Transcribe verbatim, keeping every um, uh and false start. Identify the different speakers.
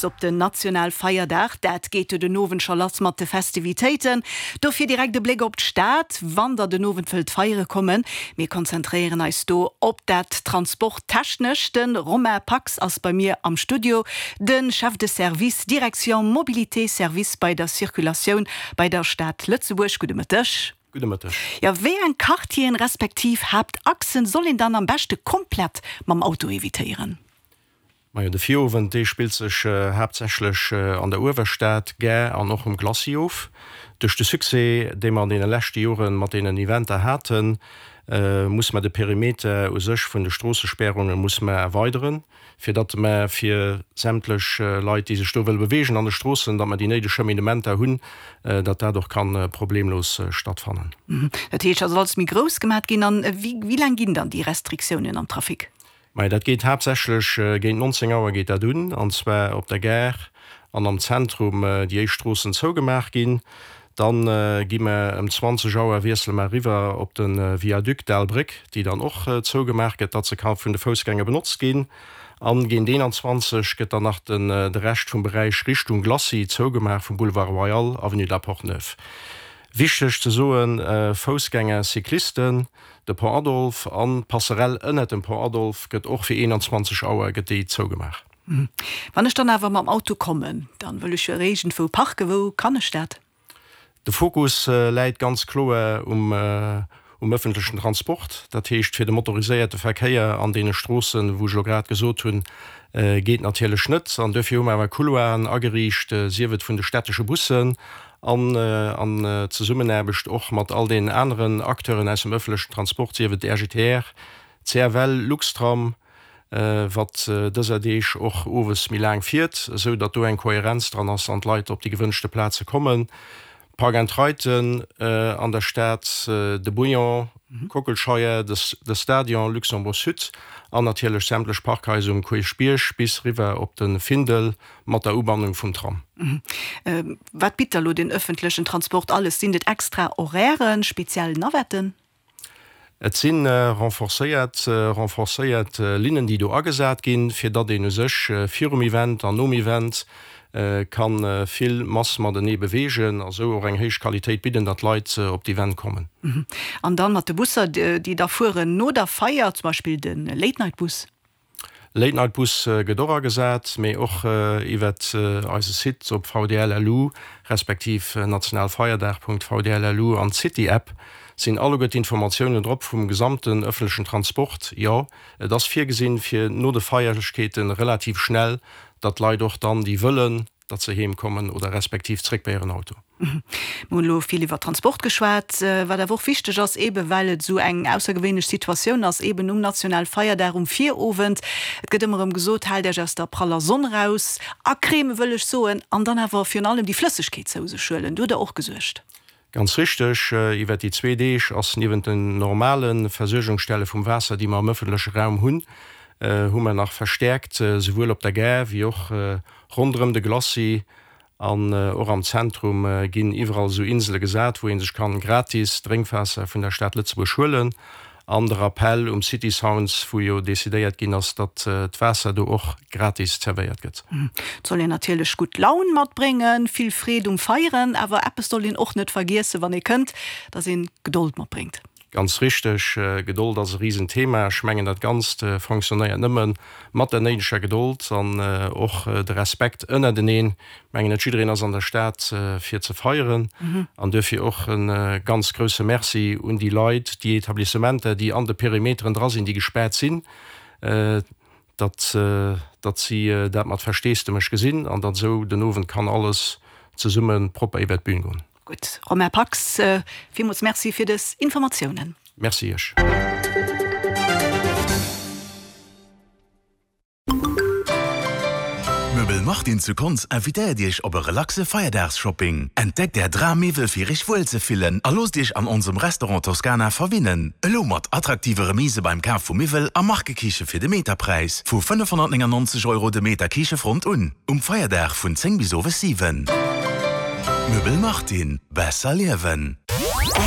Speaker 1: Op den Nationalfeierdag, dat geet jo den Owend scho lass mat de Festivitéiten. Dofir direkt e Bléck op d'Stad, wann der den Owend wëllt feiere kommen. Mir konzentréieren eis do op dat Transporttechnescht. De Romain Pax ass bei mir am Studio, de Chef de Service Direction Mobilité Service bei der Circulatioun bei der Stad Lëtzebuerg. Gudde Mëtteg.
Speaker 2: Gudde Mëtteg.
Speaker 1: Jo, wéi eng Quartieren respektiv Haaptachsen soll een dann am beschte komplett mam Auto evitéieren?
Speaker 2: Majo, de Virowend, dee spillt sech haaptsächlech an der Uewerstad, Gare an och um Glacis of. Duerch de Succès, dee mer an deene leschte Jore mat deenen Eventer haten, muss mer de Perimeter u sech vun de Stroossespärunge muss mer erweideren, fir datt mer fir sämtlech Leit, déi sech do wëlle beweegen an de Stroossen, datt mer déi néideg Cheminementer hunn, datt dat och ka problemlos stattfannen.
Speaker 1: Dat heescht, da soll alles méi grouss gemat ginn. An wéi laang ginn dann déi Restriktiounen am Trafic?
Speaker 2: Majo, dat geet haaptsächlech géint nonzéng Auer geet dat un, an zwar op der Gare an am Zentrum déi éischt Stroossen zougemaach ginn. Dann gi mer ëm zwanzeg Auer wiessele mer eriwwer op de Viaduc d'Al Bréck, déi dann och zougemaach gëtt, datt se ka vun de Foussgänger benotzt ginn. An géint eenanzwanzeg gëtt dann nach den de Rescht vum Beräich Richtung Glacis zougemaach, vum Boulevard Royal, Avenue de la Porte-Neuve. Wichteg ze soen, Foussgänger, Cyclisten, de Pont Adolphe an d'Passerelle ënnert dem Pont Adolphe gëtt och fir eenanzwanzeg Auer gëtt déi zougemaach.
Speaker 1: Wann ech dann awer mam Auto kommen, dann wëll ech jo iergendwou parken. Wou kann ech dat?
Speaker 2: De Fokus läit ganz kloer um um ëffentlechen Transport. Dat heescht, fir de motoriséierte Verkéier an deene Stroossen, wou ech elo grad gesot hunn, geet natierlech net. An duerfir hu mer awer Couloiren ageriicht, sief et vun de stättesche Bussen an an Zesummenaarbecht och mat all deenen aneren Acteuren aus dem ëffentlechen Transport, sief et R G T R, C F L, Luxtram, wat dëser Deeg och owes méi laang fiert, esou datt do eng Kohärenz dran ass an d'Leit op déi gewënschte Plaze kommen. Park and Riden an der Stad, de Bouillon, Kockelscheier, de Stadion, Luxembourg Sud an natierlech sämtlech Parkhaiser um Kierchbierg bis riwwer op de Findel mat der Ubannung vum Tram.
Speaker 1: Wat bitt da lo den ëffentlechen Transport alles? Sinn et extra Horairen, speziell Navetten?
Speaker 2: Et si renforcéiert renforcéiert Linnen, déi do agesat ginn, fir datt een u sech virum Event an nom Event ka vill Mass matenee beweegen a sou och eng héich Qualitéit bidden, datt d'Leit op d'Event kommen.
Speaker 1: An dann mat de Busser, déi da fueren no der Feier, zum Beispill de Late-Night-Bus?
Speaker 2: Late-Night-Bus gëtt och agesat, mee och iwwert eise Site op V D L L U respektiv nationalfeierdag Punkt V D L L U an d'City-App sinn alleguer d'Informatiounen drop vum gesamten ëffentlechen Transport. Jo, et ass virgesinn, fir no de Feierlechkeete relativ schnell, datt d'Leit och dann, déi wëllen, datt se heem kommen oder respektiv zréck bei hiren Auto.
Speaker 1: Mir hunn elo vill iwwer Transport geschwat, wat awer och wichteg ass, eebe well et esou eng aussergewéinlech Situatioun ass, eeben um Nationalfeierdag um Virowend. Et gëtt ëmmer erëm gesot, Haalt Iech aus der praller Sonn eraus, acrème wëll ech soen, an dann awer virun allem déi Flëssegkeet zou sech huelen. Do hutt Der och gesuergt.
Speaker 2: Ganz richteg, iwwer déi zwee Deeg ass niewent den normale Versuergungsstelle vum Waasser, déi mer am ëffentleche Raum hunn, hu mer nach verstäerkt souwuel op der Gare wéi och ronderëm de Glacis an och am Zentrum ginn iwwerall esou Insele gesat, wou ee sech kann gratis Drénkwaasser vun der Stad Lëtzebuerg huelen. An de Rappel um City Sounds, wou jo decidéiert ginn ass, datt d'Waasser do och gratis zerwéiert gëtt.
Speaker 1: Et soll een natierlech gutt Laun matbréngen, vill Freed um Feieren, awer eppes soll een och net vergiessen, wann ee kënnt, datt een Gedold matbréngt.
Speaker 2: Ganz richteg, Gedold ass e Risenthema. Ech mengen, dat Ganzt fonctionnéiert nëmme mat der néideger Gedold an och de Respekt ënnerteneen. Ech mengen, net jiddereen ass an der Stad fir ze feieren an duerfir och e ganz grousse Merci un déi Leit, déi Etablissementer, déi an de Perimeteren dra sinn, déi gespaart sinn, datt datt si dat mat Versteesdemech gesinn an datt esou den Owend kann alles zesumme propper iwwert d'Bün goen.
Speaker 1: Gutt, Romain Pax, villmools Merci fir dës Informatiounen.
Speaker 2: Merci Iech.
Speaker 3: Möbel Martin zu Konz invitéiert Iech op e relaxe Feierdagsshopping. Entdeckt Är Drammiwwel fir Iech wuel ze fillen a loosst Iech an onsem Restaurant Toscana verwinnen. Elo mat attraktive Remise beim Kaf vu Miwwel a Markekiche fir de Meterpräis vu fënnefhonnertnéngannonzeg Euro de Meter Kichefront un. Um Feierdag vun zéng bis owes siwen. Möbel Martin, besser liewen!